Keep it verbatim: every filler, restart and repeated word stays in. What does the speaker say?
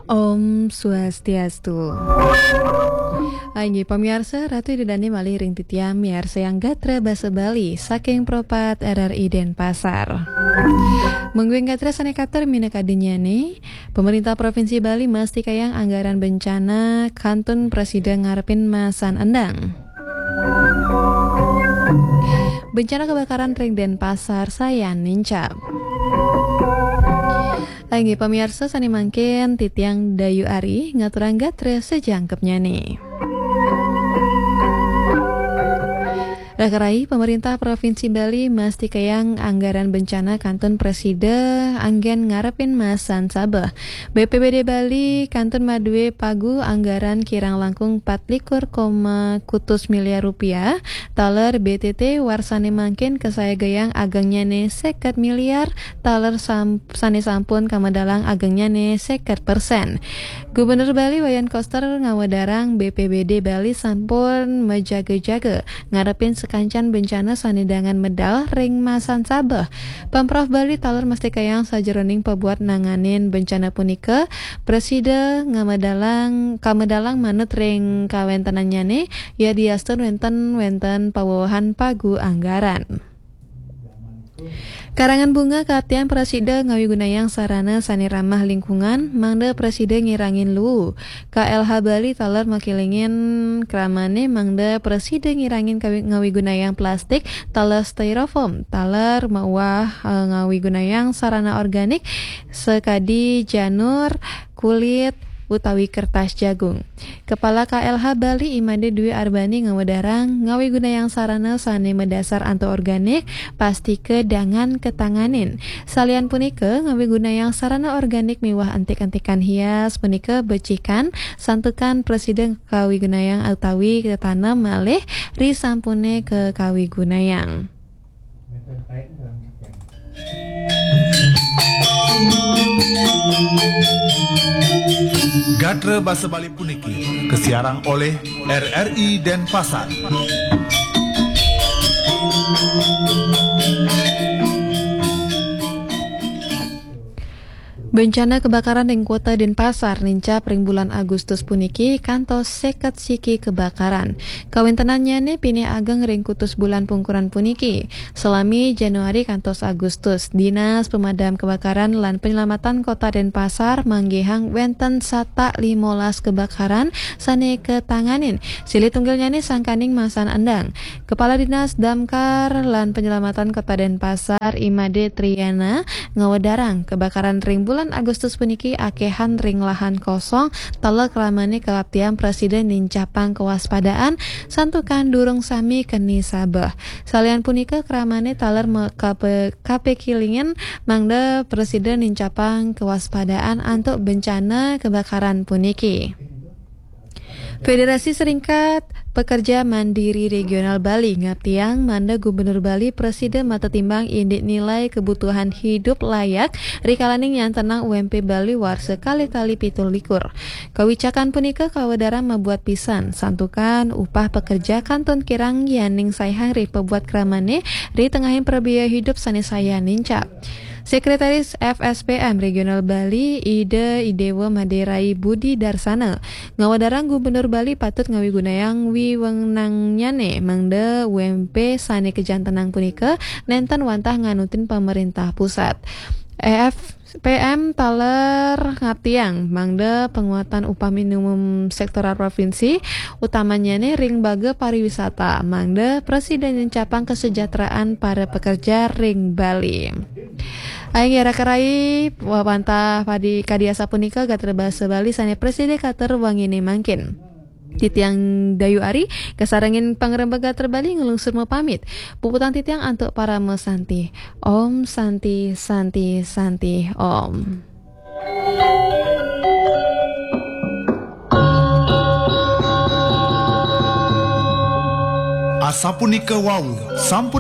Om Swastiastu. Inggih pamiarsa, Ratu Ida Dane malih ring titiang miarsayang gatra basa Bali saking Pro pat R R I Denpasar. Mungguing gatra sane katur minakadinnyane, Pemerintah Provinsi Bali mastikayang anggaran bencana kantun prasida ngarepin masan endang. Bencana kebakaran ring Denpasar sayan nincap. Inggih pamiarsa, sane mangkin titiang Dayu Ari ngaturang gatra sajangkepnyane. Rakarai, Pemerintah Provinsi Bali mastikayang anggaran bencana kantun prasida anggen ngarepin masan sabeh. B P B D Bali kantun madue pagu anggaran kirang langkung pat likur koma kutus miliar rupiah, taler B T T warsane mangkin kasayagayang agengnyane seket miliar, taler sam-, sane sampun kamedalang agengnyane seket persen. Gubernur Bali Wayan Koster ngawedarang B P B D Bali sampun majaga-jaga ngarepin sakancan bencana sane dangan medal ring masan sabeh. Pemprov Bali taler mastikayang sajeroning pabuat nanganin bencana punika, prasida ngamedalang, kamedalang manut ring kawentenannyane, yadiastun wenten, wenten pawewehan pagu anggaran. Karangan Bunga kaptian prasida ngawigunayang sarana sane ramah lingkungan, mangda prasida ngirangin luu. K L H Bali taler makilingin kramane mangda prasida ngirangin kawi-, ngawigunayang plastik, taler styrofoam, taler mauah, eh, ngawigunayang sarana organik sakadi janur, kulit, utawi kertas jagung. Kepala K L H Bali I Made Dwi Arbani ngawedarang, ngawigunayang sarana sane madasar antuk organik, pastika dangan katanganin. Salian punika, ngawigunayang sarana organik miwah antik-antikan hias punika becikan, santukan prasida kawigunayang utawi katanem malih risampune kakawigunayang. Gatra basa Bali puniki kasiarang olih R R I Denpasar. Bencana kebakaran ring Kota Denpasar nincap ring bulan Agustus puniki kantos seket siki kebakaran. Kawentenannyane pinih ageng ring kutus bulan pungkuran puniki, salami Januari kantos Agustus. Dinas Pemadam Kebakaran lan Penyelamatan Kota Denpasar manggihang wenten satak limolas kebakaran sane katanganin. Silih tunggilnyane sangkaning masan endang. Kepala Dinas Damkar lan Penyelamatan Kota Denpasar, I Made Triana, ngawedarang, kebakaran ring bulan Agustus puniki akehan ring lahan kosong, taler kramane kaptian prasida nincapang kewaspadaan, santukan durung sami keni sabeh. Salian punika, kramane taler me-, kape-, kapekilingin mangda prasida nincapang kewaspadaan antuk bencana kebakaran puniki. Federasi Serikat Pekerja Mandiri Regional Bali ngaptiang mangda Gubernur Bali prasida matetimbang indik nilai kebutuhan hidup layak rikalaning nyantenang U M P Bali warsa kalih tali pitu likur. Kawicakan punika kawedarang mabuat pisan, santukan upah pekerja kantun kirang yaning saihang ri pabuat kramane ri tengahing prabiaya hidup sane sayan nincap. Sekretaris F S P M Regional Bali, Ida Idewa Maderai Budi Darsana, ngawedarang Gubernur Bali patut ngawigunayang wiwenangnyane mangda U M P sane kajantenang punika nenten wantah nganutin pamerintah pusat. F P M taler ngaptiang mangda penguatan upah minimum sektoral provinsi, utamanyane ring baga pariwisata, mangda prasida nincapang kesejahteraan para pekerja ring Bali. Inggih raka rai, wantah padi kadi asapunika gatra basa Bali sane prasida katur wangine mangkin. Titiang Dayu Ari, kasarengin pangrembag gatra Bali nglungsur mapamit. Puputang titiang antuk parama santi. Om Santi, Santi, Santi, Om. Asapunika wau, sampun